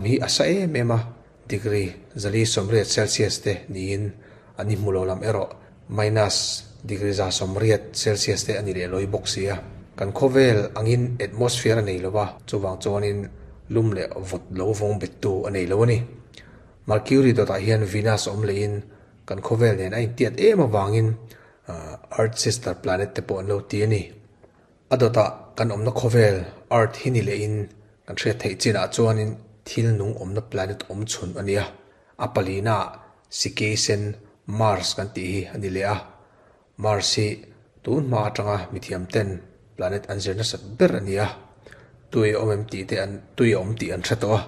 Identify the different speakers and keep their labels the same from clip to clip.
Speaker 1: Hi a sa em em a, degree 480 Celsius te niin a ni hmu lo lam erawh minus degree 180 Celsius te a ni leh lawi bawk si a. Kan khawvel angin atmosphere a nei lo va, chuvang chuanin lum leh vawt lo vawng bettu a nei lo a ni. Mercury dawtah hian Venus awm lehin kan khawvel nen a intiat em avangin Earth sister planet te pawh an lo ti a ni. A dawtah kan awmna khawvel Earth hi ni lehin kan hriat theih chinah chuanin thil nung awmna planet awm chhun a ni a. A palinaah Sikeisen Mars kan tih hi a ni leh a. Mars hi tun hma atanga mithiam ten planet an zir nasat ber a ni a. Tui a awm em tih te an tui a awm tih an hre tawh a.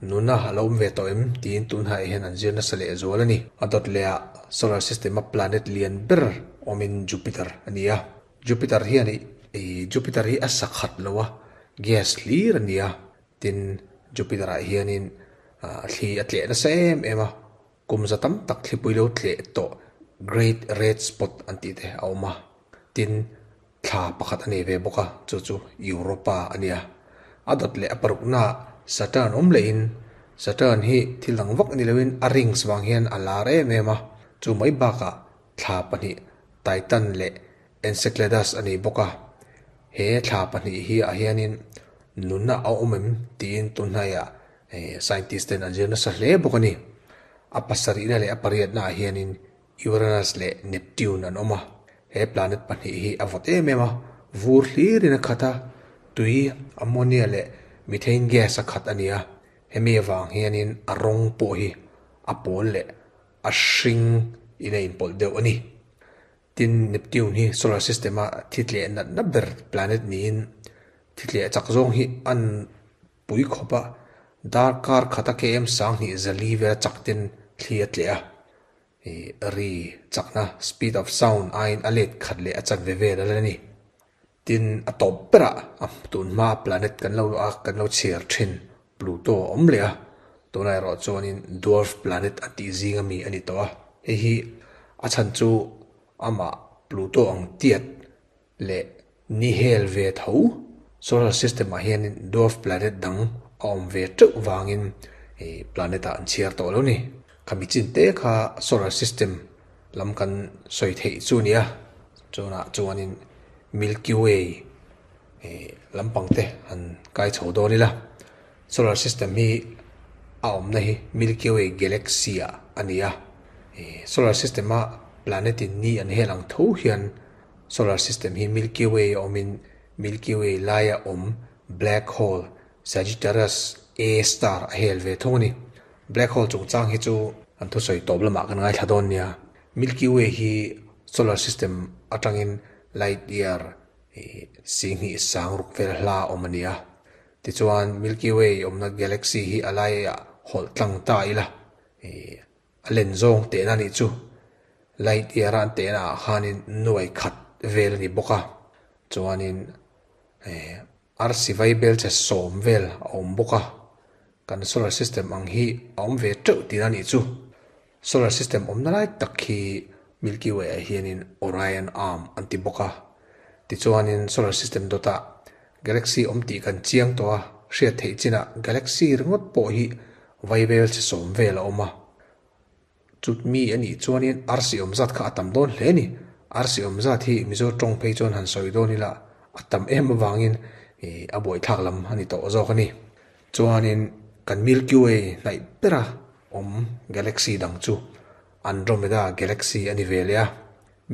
Speaker 1: Nuna a lo awm ve tawh em tiin tun hnaih hian an zir nasa leh zual a ni. A dawt lehah solar system a planet lian ber awmin Jupiter a ni a. Jupiter hian ih Jupiter hi a sa khat lo a, gas hlir a ni a, tin Jupiter ah hianin ah thli a tleh nasa em em a, kum za tam tak thlipui lo tleh tawh Great Red Spot an tih te a awm a, tin thla pakhat a nei ve bawk a, chu chu Europa a nia. A dawt leh a parukna ah Saturn awm lehin Saturn hi thil dang vak ni loin a rings vang hian a lar em em a, chu mai bakah thla pahnih Titan leh Enceladus a ni bawk a, he thla pahnih hi ah hianin nunna a awm em tiin tunhnaiah scientist ten an zir nasa hle bawk a ni. A pasarihna leh a pariatna ah hianin Uranus leh Neptune an awm a, he planet pahnih hi a vawt em em a, vur hlirin a khat a, tui, ammonia leh methane gas a khat a ni a, hemi avang hianin a rawng pawh hi a pawl leh a hring in a inpawlh deuh a ni. Tin, Neptune hi solar system a thi tleh natna ber planet niin thi tleh chak zawng hi an pui khawp a, darkar khata km 2400 vel a chak ten thli a tleh a, ih ri chakna speed of sound aiin a let khat leh a chanve vel a la ni. Tin, a tawp berah a tun hma planet kan lo a kan lo chhiar thin Pluto a awm leh a, tunah erawh chuanin dwarf planet a tih zing ami a ni tawh a. Hei hi a chhan chu amah Pluto ang tiat leh ni hel ve tho solar system ah hianin dwarf planet dang a awm ve teuh vangin ih planet ah an chhiar tawh lo ni. Khami chin te kha solar system lam kan sawi theih chu a ni a, chunah chuanin Milky Way ih lampang te han kai chho dawn ila, solar system hi a awmna hi Milky Way galaxy ah a ni a, ih solar system a planet in ni an hel ang tho hian solar system hi Milky Way a awmin Milky Way laia awm black hole Sagittarius A star a hel ve thung a ni. Black hole chungchang hi chu an thusawi tawp lamah kan ngaithla dawn nia. Milky Way hi solar system atangin light year 26 vel hla awm a ni a. Tichuan Milky Way awmna galaxy hi a laiah hawlh tlang ta ila a len zawng tehna nih chu light year a an tehna ah khanin nuai khat vel a ni bawk a. Chuanin Arsi vai bel che sawm vel a awm bawk a, kan solar system ang hi a awm ve teuh tih a nih chu. Solar system awmna lai tak hi Milky Way ah hianin Orion Arm an ti bawk a. Tichuanin solar system dawtah galaxy awm tih kan chiang tawh a, hriat theih chinah galaxy ringawt pawh hi vai bel che sawm vel a awm a. Chut mi a nih chuanin arsi awm zat kha a tam dawn hle a ni. Arsi awm zat hi Mizo tawng phei chuan han sawi dawn ila a tam em avangin a buaithlak lam a ni tawh zawk a ni. Chuanin kan Milky Way hnaih bera awm galaxy dang chu Andromeda galaxy a ni ve leh a.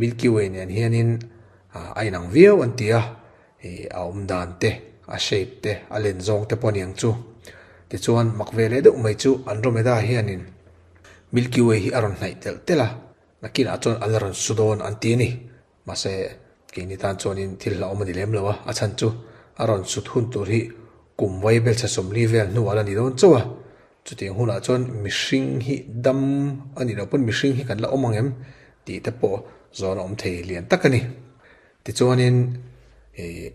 Speaker 1: Milky Way nen hianin a inang viau an ti a, a awm dan te, a shape te, a len zawng te pawh a ni ang chu. Tichuan mak ve leh deuh mai chu Andromeda hianin Milky Way hi a rawn hnaih telh telh a, nakinah chuan a la rawn su dawn an ti a ni. Mahse, keini tan chuanin thil hlauhawm a ni lem lo a, a chhan chu a rawn sut hun tur hi kum vai belchhe 40 vel hnuah a la ni dawn chauh a. Chutiang hunah chuan mihring hi dam a nih loh pawn mihring hi kan la awm ang em tih te pawh zawn a awm thei lian tak a ni. Tichuanin ih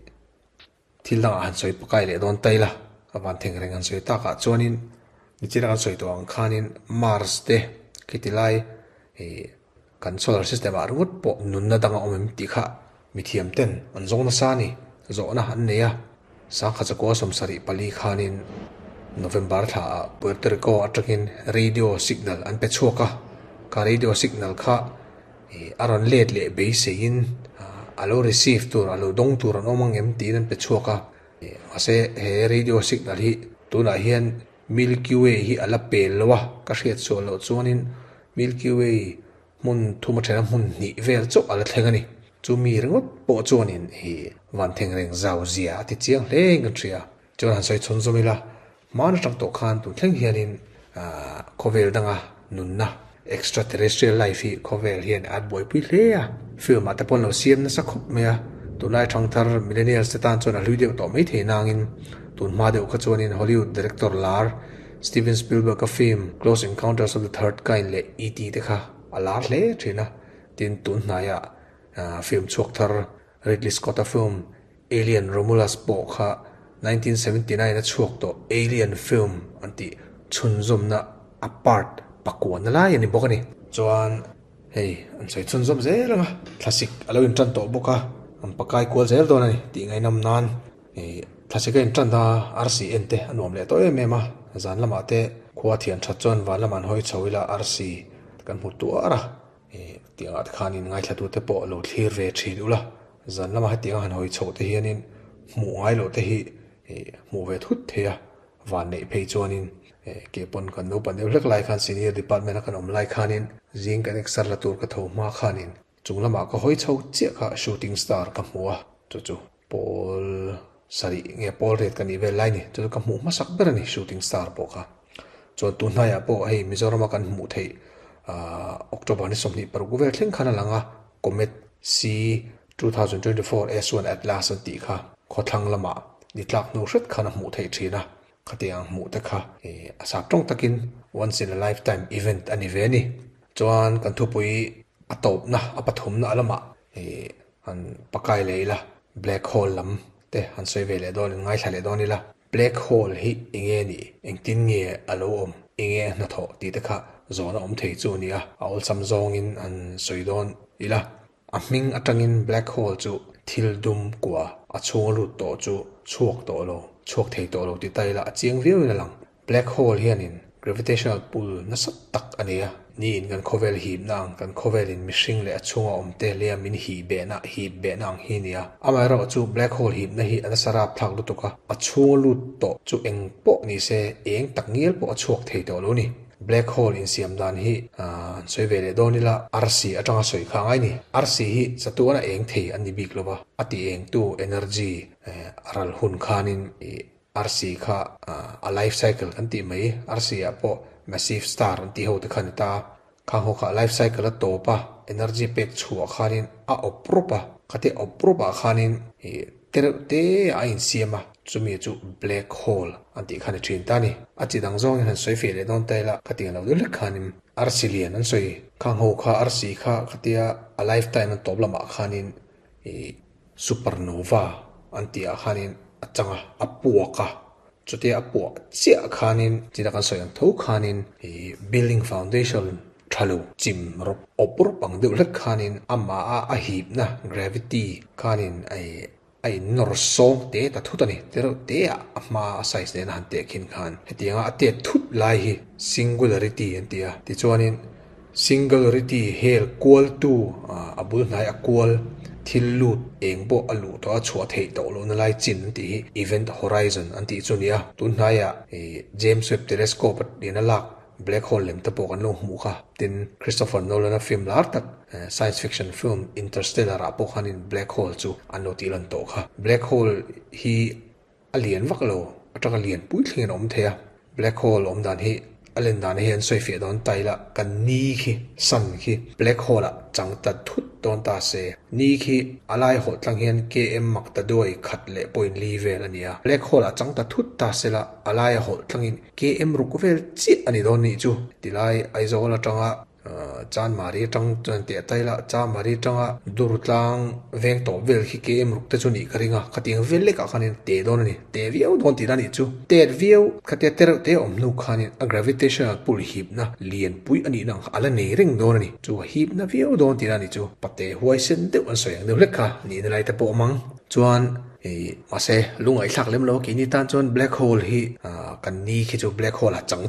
Speaker 1: thil dangah han sawi pakai leh dawn ta ila, a van theng reng han sawi takah chuanin nichina kan sawi tawh ang khanin Mars te khiti lai ih kan solar system ah ringawt pawh nunna dang a awm em tih kha mithiam ten an zawng nasa a ni, zawhna an nei a. 1974 khanin. November thlaah Puerto Rico atangin radio signal an pe chhuak a, kha radio signal kha a rawn let leh beiseiin a lo receive tur, a lo dawng tur an awm ang em tiin an pe chhuak a. Mahse he radio signal hi tunah hian Milky Way hi a la pel lo a, ka hriat sual loh chuanin Milky Way hmun thum a then a hmun hnih vel chauh a la thleng a ni. Chu mi ringawt pawh chuanin i van thleng reng zau zia a ti chiang hle in kan hria. Chuan han sawi chhawn zawm ila, hmaan atang tawh khan tun thleng hianin khawvel danga nunna, extraterrestrial life, hi khawvel hian a buaipui hle a. Film ah te pawh an lo siam nasa khawp mai a, tunlai thangthar millennials te tan chuan a hlui deuh tawh maithei nangin tun hma deuh kha chuanin Hollywood director lar Steven Spielberg-a film Close Encounters of the Third Kind leh E.T. Te kha a lar hle thin a, tin tun hnaiah film chhuak thar Ridley Scott-a film Alien Romulus pawh kha 1979 a chhuak tawh Alien film an tih chhunzawmna a part pakuana lai a ni bawk a ni. Chuan hei an sawi chhunzawm zel ang a, thlasik a lo intan tawh bawk a, an pakai kual zel dawn a ni tih ngaihnawm nan. Thlasik a intan a, arsi en te a nuam leh tawh em em a, zan lamah te khua thian that chuan van lamah an hawi chho ila arsi kan hmu tuar a, tiangah te khanin ngaithlatu te pawh lo thlir ve thin ula, zan lamah hetianga han hawi chhoh te hianin hmuh ngai loh te hi hmuh ve thut thei a, van neih phei chuanin ke pawn kan naupan deuh hlek lai khan senior department a kan awm lai khanin zing kan exer la tur ka tho hma khanin chung lamah ka hawi chho chiah kha shooting star ka hmu a, chu chu. Pawl sarih nge pawl riat ka nih vel lai ni, chu chu ka hmuh hmasak ber a ni shooting star pawh kha. Chuan tun hnaiah pawh hei Mizorama kan hmuh theih ahh October ni 26 vel thleng khan a lang a, Comet C 2024 S1 Atlas an tih kha khawthlang lamah ni tlak hnu hret khan a hmuh theih thin a, khatiang hmuh te kha a sap tawng takin once in a lifetime event a ni ve a ni. Chuan kan thupui a tawpna a pathumna lamah ih Han pakai leh ila, black hole lam te han sawi ve leh dawn in ngaithla leh dawn ila, black hole hi enge nih, engtin nge a lo awm, enge a hnathawh tih te kha zawhna awm thei chu a ni a, a awlsam zawngin han sawi dawn ila. A hming atangin black hole chu thil dum kua a chhung a lut tawh chu chhuak tawh lo, chhuak thei tawh lo ti ta ila a chiang viau in a lang. Black hole hianin gravitational pull nasa tak a nei a, niin kan khawvel hipna ang, kan khawvelin mihring leh a chhunga awmte leh a min hih behna, hip behna ang hi a ni a. Amaherawh chu black hole hipna hi a nasa rapthlak lutuk a, a chhunga lut tawh chu eng pawh ni se eng tak ngial pawh a chhuak thei tawh lo ni. Black hole insiam dan hi an sawi ve leh dawn ila, arsi atanga sawi kha angai ni. Arsi hi chatuan a eng thei an ni bik lo va, a ti engtu energy a ral hun khanin Arsi kha a life cycle kan tih mai, arsi ah pawh massive star an tih ho te kha a ni ta a, khang ho kha a life cycle a tawp a, energy pek chhuah khanin a awp rawp a, khatia awp rawp ah khanin ih te reuh te ah a insiam a, chumi chu black hole an tih kha a ni thin ta a ni. A chi dang zawngin han sawi feh leh dawn ta ila, khatiang lo deuh hlek khanin arsi lian an sawi, khang ho kha arsi kha khatia a life time an tawp lamah khanin ih Supernova an tih ah khanin a chang a, a puak a, chutia a puah chiah khanin china kan sawi ang tho khanin ih building foundation tha lo chim rawp awp rawp ang deuh hlek khanin amah a a hipna gravity khanin ih a in nawr sawng te ta thut a ni, te reuh te ah a hma a size nena han teh khin khan hetianga a tet thut lai hi singularity an ti a, tichuanin. Singularity hel kualtu a bul hnai a kual thil lut eng pawh a luh tawh a chhuah theih tawh lohna lai chin an tih hi Event Horizon an tih chu a ni a. Tun hnaiah James Webb Telescope a ina lak black hole lem te pawh kan lo hmuh kha. Tin, Christopher Nolan-a film lar tak science fiction film Interstellar ah pawh khanin black hole chu an lo tih lan tawh kha. Black hole hi A lian vak lo, atanga lian pui thlengin a awm thei a. Black hole awm dan hi a len dan hi an sawi fiah dawn ta ila, kan ni khi, sun khi, black hole ah chang ta thut dawn ta se. Ni khi a lai hawlh tlang hian KM mak ta duai khat leh point li vel a ni a. Black hole ah chang ta thut ta se la, a lai a hawlh tlangin KM ruk vel chiah a ni dawn nih chu. Tilai Aizawl atanga Chanmari atang chuan teh tai la, Chanmari atanga Durtlang veng tawp vel khi KM ruk te chu nih ka ring a, khatiang vel lekah khanin teh dawn a ni, teh viau dawn tih la nih chu. Tet viau, khatia te reuh te awm hnu khanin a gravitational pull hipna lianpui a nihna ang kha a la nei reng dawn a ni, chu a hipna viau dawn tih la nih chu. Pate huaisen deuh an sawi ang deuh hlek kha nihna lai te pawh awm ang. Chuan. Ih mahse lungaihthlak lem lo keini tan chuan black hole hi ah kan ni khi chu black hole a chang thei.